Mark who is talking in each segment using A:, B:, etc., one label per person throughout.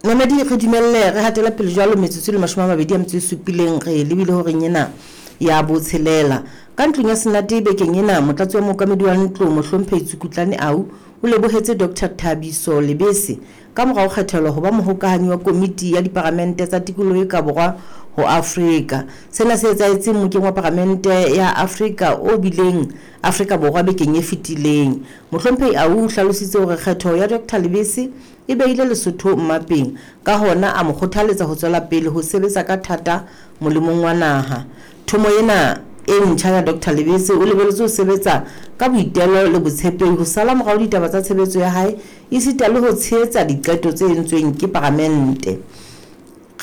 A: Mamedi re dumelle re hatela pele jwalo metsotso e le 27 re lebile horeng ena ya botshelela. Ka ntlong ya Senate bekeng ena, motlatsi wa mookamedi wa ntlo Mohlomphehi Tsukutlane Au o lebohetse Doctor Thabiso Lebese ka mora ho kgethelwa ho ba mohokahanyi wa komiti ya diparamente tsa tikoloho e ka borwa ho Afrika. Sena se etsahetse mmokeng wa paramente ya Afrika o bileng Afrika Borwa bekeng e fetileng. Mohlomphehi Au o hlalositse hore kgetho ya Doctor Lebese e behile Lesotho mmapeng, ka hona a mo kgothaletsa ho tswela pele ho sebetsa ka thata molemong wa naha. Thomo ena e ntjha ya Doctor Lebese o lebeletswe ho sebetsa ka boitelo le botshepehi ho sala morao ditaba tsa tshebetso ya hae esita le ho tshehetsa diqeto tse entsweng ke paramente.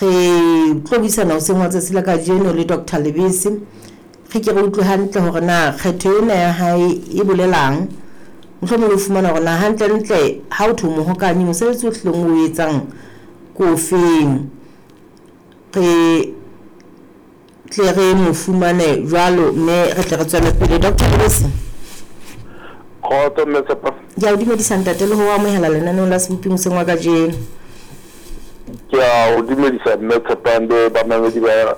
A: Re tlo buisana hoseng hwa tsatsi la kajeno le Doctor Lebese re ke re utlwe hantle hore na kgetho ena ya hae e bolelang. Mohlomong le ho fumana hore na hantlentle ha o thwe o mohokanyi mosebetsi o hlileng o etsang ke ofeng. Re tle re mo fumane jwalo mme re tle re tswele pele. Doctor Lebese.
B: Kgotso mme Tshepo.
A: Ke a o dumedisa ntate le ho o amohela lenaneong la Sebopi hoseng wa kajeno.
B: Ke a o dumedisa mme Tshepang le bamamedi ba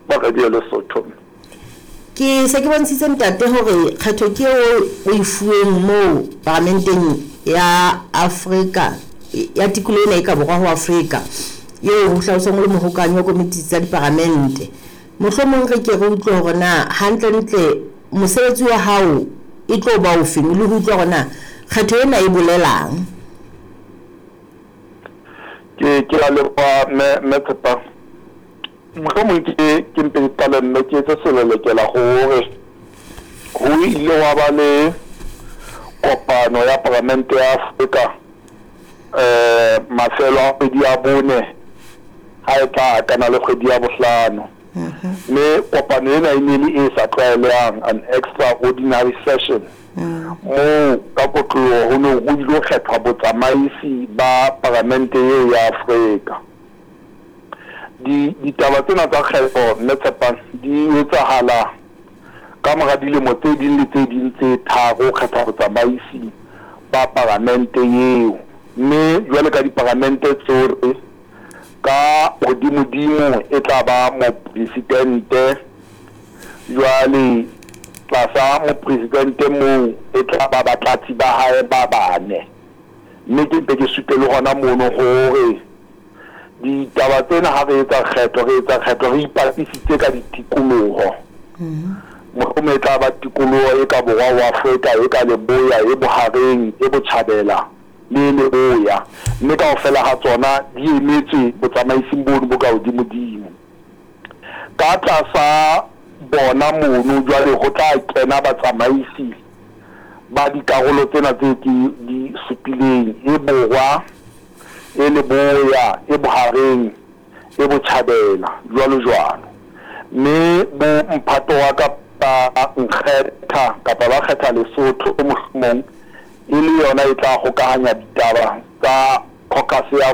B: ba Radio Lesotho.
A: Ke se ke bontshitse ntate hore kgetho ke eo o e fuweng moo paramenteng ya Afrika ya tikoloho ena e ka borwa ho Afrika eo ho hlaloswang o le mohokanyi wa komiti tsa diparamente. Mohlomong re ke re utlwe hore na hantlentle mosebetsi wa hao e tlo ba ofeng le ho utlwa hore na kgetho ena e bolelang.
B: Ke ke a leboha mme mme Tshepang. Mohlomong ke ke mpe ke qale mme ke etse selelekela hore ho ile hwa ba le kopano ya Paramente ya Afrika mafelo a kgwedi ya bone ha e tla akana le kgwedi ya bohlano. Mme kopano ena e ne le e sa tlwaelehang, an extraordinary session, moo ka kotloloho ho neng ho ilo kgethwa botsamaisi ba Paramente eo ya Afrika. Di, ditaba tsena tsa kgetho, Mme Tshepang, di etsahala ka mora dilemo tse ding le tse ding tse tharo ho kgetha botsamaisi ba paramente eo. Mme jwale ka diparamente tsohle, ka hodimodimo e tla ba mopresidente, jwale tlasa mopresidente moo e tla ba batlatsi ba hae ba bane. Mme ke mpe ke supe le hona mono hore Ditaba tsena ha re etsa kgetho, re etsa kgetho re ipapisitse ka ditikoloho. Mohlomong e tla ba tikoloho e ka borwa ho Afrika, e ka leboya, e bohareng, e botjhabela le e leboya, mme kaofela ha tsona di emetswe botsamaising bono bo ka hodimodimo. Ka tlasa bona mono jwale ho tla kena batsamaisi ba dikarolo tsena tse ke di supileng, e borwa, e leboya, e bohareng, e botjhabela, jwalo jwalo. Mme bo mphato wa ka ba nkgetha kapa ba kgetha Lesotho mohlomong e le yona e tla hokahanya ditaba tsa caucus ya.